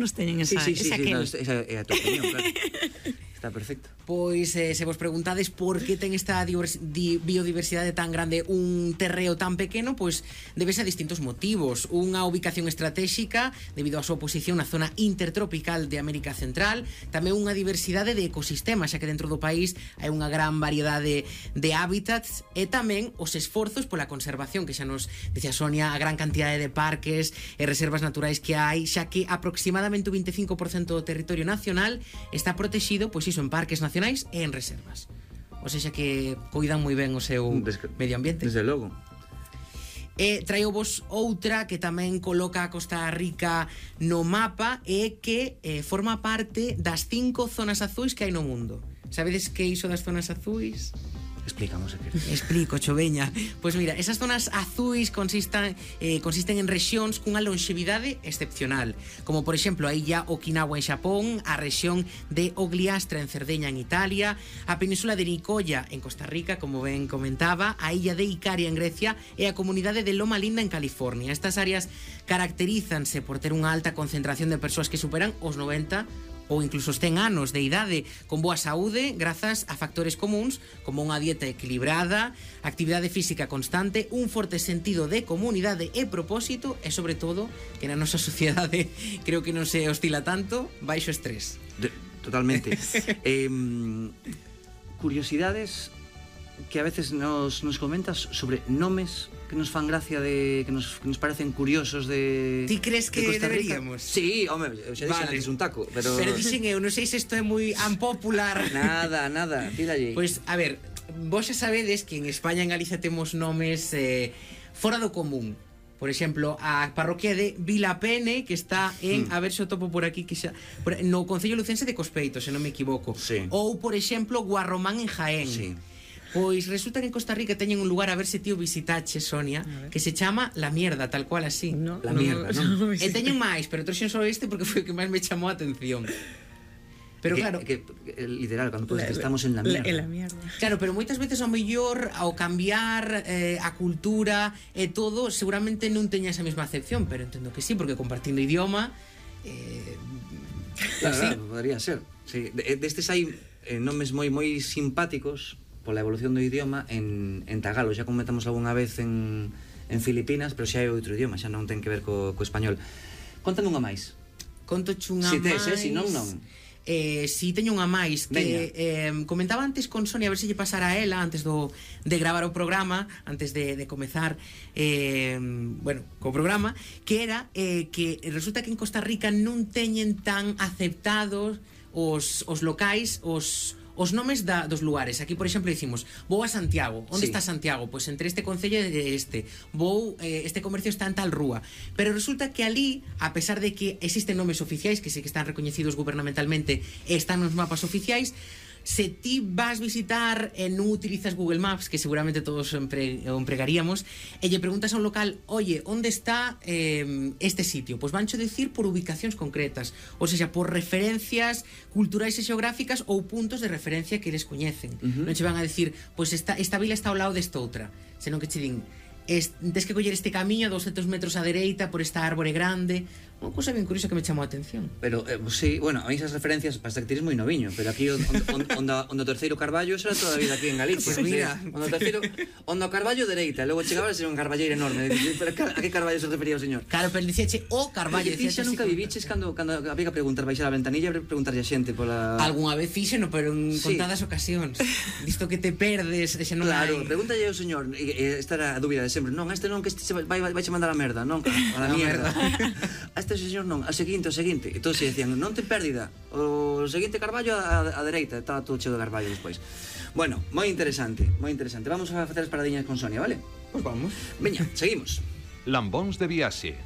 menos teñen esa no, esa é a tua opinión, claro. Está perfecto. Pois se vos preguntades por que ten esta biodiversidade tan grande un terreo tan pequeno, pois debese a distintos motivos. Unha ubicación estratégica debido á súa posición na zona intertropical de América Central, tamén unha diversidade de ecosistemas, xa que dentro do país hai unha gran variedade de hábitats, e tamén os esforzos pola conservación, que xa nos dicía Sonia, a gran cantidade de parques e reservas naturais que hai, xa que aproximadamente o 25% do territorio nacional está protegido, pois iso, en parques nacionais e en reservas. O seja que cuidan moi ben o seu medio ambiente. Desde logo. E traio vos outra que tamén coloca a Costa Rica no mapa, e que forma parte das 5 zonas azuis que hai no mundo. Sabedes que iso das zonas azuis? Explicamos se queres. Explico, choveña. Pois mira, esas zonas azuis consisten en rexións cunha longevidade excepcional, como por exemplo a illa Okinawa en Xapón, a rexión de Ogliastra en Cerdeña en Italia, a península de Nicoya en Costa Rica, como ben comentaba, a illa de Icaria en Grecia e a comunidade de Loma Linda en California. Estas áreas caracterízanse por ter unha alta concentración de persoas que superan os 90 ou incluso os 100 anos de idade, con boa saúde grazas a factores comuns como unha dieta equilibrada, actividade física constante, un forte sentido de comunidade e propósito, e sobre todo que na nosa sociedade creo que non se oscila tanto, baixo estrés. Totalmente. Curiosidades que a veces nos comentas sobre nomes que nos fan gracia, que nos parecen curiosos de... Ti crees que deberíamos? Sí, home, xa dixen antes un taco, pero dixen eu, non sei se isto é moi unpopular. Nada, tiralle. Pois, a ver, vos xa sabedes que en España e en Galicia temos nomes fora do común. Por exemplo, a parroquia de Vilapene, que está en, a ver se o topo por aquí, que xa, no concello lucense de Cospeito, se non me equivoco. Sí. Ou, por exemplo, Guarromán en Jaén. Sí. Pois resulta que en Costa Rica teñen un lugar, a ver se tío visitache, Sonia, que se chama La Mierda, tal cual así. No, La Mierda, non? E teñen máis, pero trouxen só este porque foi o que máis me chamou a atención. Pero claro, literal, cando podes que estamos en la mierda. En la mierda. Claro, pero moitas veces ao mellor ao cambiar a cultura e todo, seguramente non teña esa mesma acepción, pero entendo que sí, porque compartindo idioma claro, podría ser. Sí, destes hai nomes moi simpáticos pola evolución do idioma en tagalo, xa comentamos algunha vez en Filipinas, pero xa é outro idioma, xa non ten que ver co español. Contame unha máis. Conto chunha si máis. Si non. Si teño unha máis que comentaba antes con Sonia, a ver se lle pasara a ela antes de gravar o programa, antes de comezar co programa, que era que resulta que en Costa Rica non teñen tan aceptados os locais, os nomes dos lugares. Aquí, por exemplo, dicimos vou a Santiago. Onde está Santiago? Pois entre este concello e este. Este comercio está en tal rúa. Pero resulta que ali, a pesar de que existen nomes oficiais, que sí que están recoñecidos gubernamentalmente e están nos mapas oficiais, se ti vas visitar e non utilizas Google Maps, que seguramente todos o empregaríamos, e lle preguntas a un local, oye, onde está este sitio? Pois vancho decir por ubicacións concretas, ou seja, por referencias culturais e xeográficas ou puntos de referencia que eles coñecen. Non che van a decir, pois esta vila está ao lado desta outra, senón que che din, tens que coller este camiño a 200 metros á dereita por esta árbore grande. Unha cousa ben curiosa que me chamou a atención. Pero, sí, bueno, a mí esas referencias para que tires moi noviño, pero aquí onde o terceiro Carballo era toda a vida aquí en Galicia. Pues mira, onde o Carballo dereita, logo chegaba a ser un carballeiro enorme. Pero a que Carballo se refería o señor? Claro, pero dicíache o Carballo. Ti xa nunca viviches cando había que preguntar, baixar a ventanilla e preguntarlle a xente pola... Algúnha vez fíxeno, pero en contadas ocasións. Visto que te perdes, xa non hai... Claro, pregúntalle ao señor, esta era a dúbida de sempre. Non, este non, que este vai che mandar a merda, non? A la mierda. A este señor non, ao seguinte. E todos se decían, non ten pérdida. O seguinte Carballo a dereita, estaba todo cheo de Carballo despois. Bueno, moi interesante. Vamos a facer as paradiñas con Sonia, vale? Pois vamos. Veña, seguimos. Lambóns de Viaxe.